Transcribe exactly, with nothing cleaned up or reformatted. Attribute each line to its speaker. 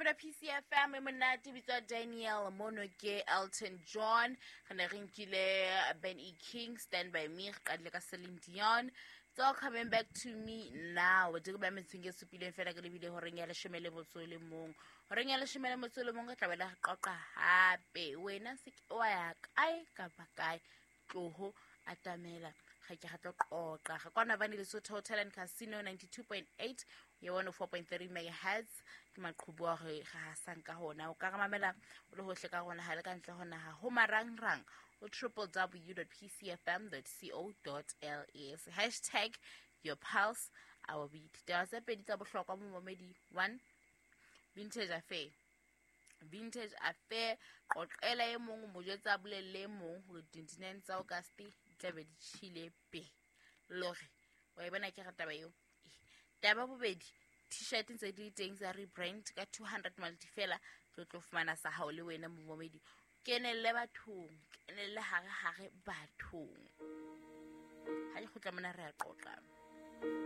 Speaker 1: Mmino P C F M e monate, bitswa Daniel mono ke Elton John. Re ne re nkile Ben E King, Stand By Me. Re qadile ka Celine Dion, It's All Coming Back to Me Now. Di ba metsong e supileng fela ke lebile horeng ya leshome le motso o le mong. Horeng ya leshome le motso o le mong re tla bela re qoqa hape. Wena se ke wa ya kae kapa kae, tloho atamela ga ke ga tlo qoqa ga kwana bane. Lesotho Hotel and Casino, ninety-two point eight ya one oh four point three megahertz ke maqhubu a re ga hasang ka hona. O ka re mamela o le hohle ka rona ha le ka ntle ho naha ho marangrang o w w w dot p c f m dot co dot l s, hashtag your pulse, our beat. Taba tse pedi tsa bohlokwa, momamedi. One, Vintage Affair. Vintage Affair, qoqela e mong, mo jwetsa, a bolelle e mong hore twenty-nine tsa August di tlabe di tjhile be lore wa e bona. Ke re taba eo. Taba bobedi, T-shirt ntse di le teng tsa rebrand ka two hundred malti fela. Tlo tlo fumana sa hao le wena, momamedi. Kenelle bathong, kenelle hare hare bathong. Ha ke kgutla mona re a qoqa.